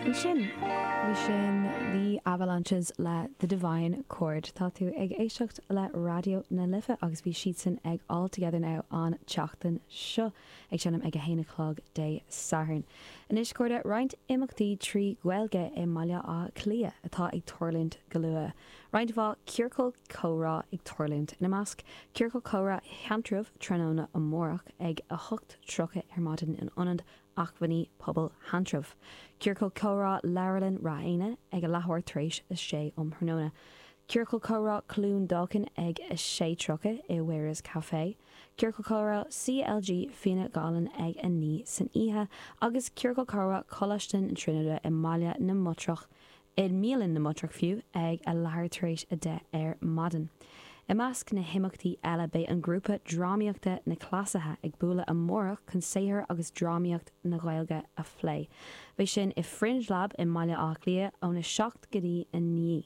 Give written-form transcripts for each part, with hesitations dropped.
Ansin, bhí sin The Avalanches le The Divine Chord. Tá tú ag éisteacht le Raidió na Life agus bhí siadsan ag All Together Now an tseachtain seo, ag seinm ag a haon a chlog Dé Sathairn. Anois, a chairde, roinnt imeachtaí trí Ghaeilge i mBaile Átha Cliath atá ag tarlúint go luath. Roinnt mhaith ciorcal comhrá ag tarlúint, ina measc, Ciorcal Comhrá Sheantraibh tráthnóna amárach ag 8:30 ar maidin in Ionad Acmhainní Pobail Sheantraibh. Ciorcal Comhrá Leabharlann Ráth Éanna ag a leathuair tar éis a sé um thráthnóna. Ciorcal Comhrá Cluain Dolcáin ag 6:30 i Weir's Café. Ciorcal Comhrá CLG Fianna Gallen ag 9 san oíche agus Ciorcal Comhrá Coláiste na Tríonóide i mBaile na mBatrach i mBialann na mBatrach fiú, ag a leathuair tar éis 10 ar maidin. I measc na himeachtaí eile beidh an grúpa drámaíochta Na Cleasaithe ag bualadh amárach chun saothar agus drámaíocht na Gaeilge a phlé. Beidh sin i Fringe Lab i mBaile Átha Cliath óna 7 go dtí 9.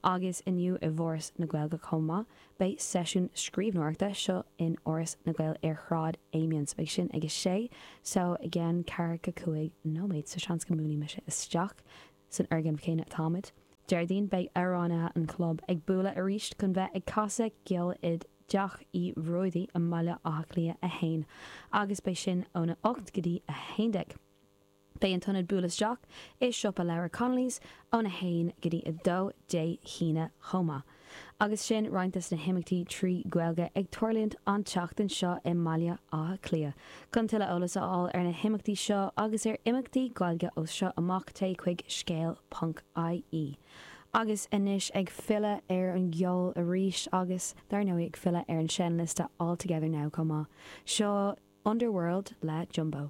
Agus inniu i bhForas na Gaeilge chomh maith beidh seisiún scríbhneoireachta, seo in Áras na nGael ar Shráid Amiens. Beidh sin ag 6 so i gceann ceathracha 5 nóiméad so seans go mbuailfidh mise isteach San fhoirgneamh céanna atáimid. Déardaoin beidh amhránaithe an chlub ag bualadh arís chun bheith ag casadh ceoil i dTeach Uí Bhruadaí i mBaile Átha Cliath 1 agus beidh sin óna 8 go dtí 11. Beidh an t-ionad buail isteach i Siopa Leabhar Connolly's óna 1 go dtí 2 Dé hAoine chomh maith. Agus sin roinnt des na himeachtaí trí Ghaeilge ag tarlúint an tseachtain seo i mBaile Átha Cliath. Chun tuilleadh eolas a fháil ar na himeachtaí seo agus ar imeachtaí Gaeilge ó seo amach téigh chuig scéal ponc ie. Agus anois ag filleadh ar an gceol arís agus dar ndóigh ag filleadh ar an seinnliosta All Together Now chomh maith. Seo Underworld le Jumbo.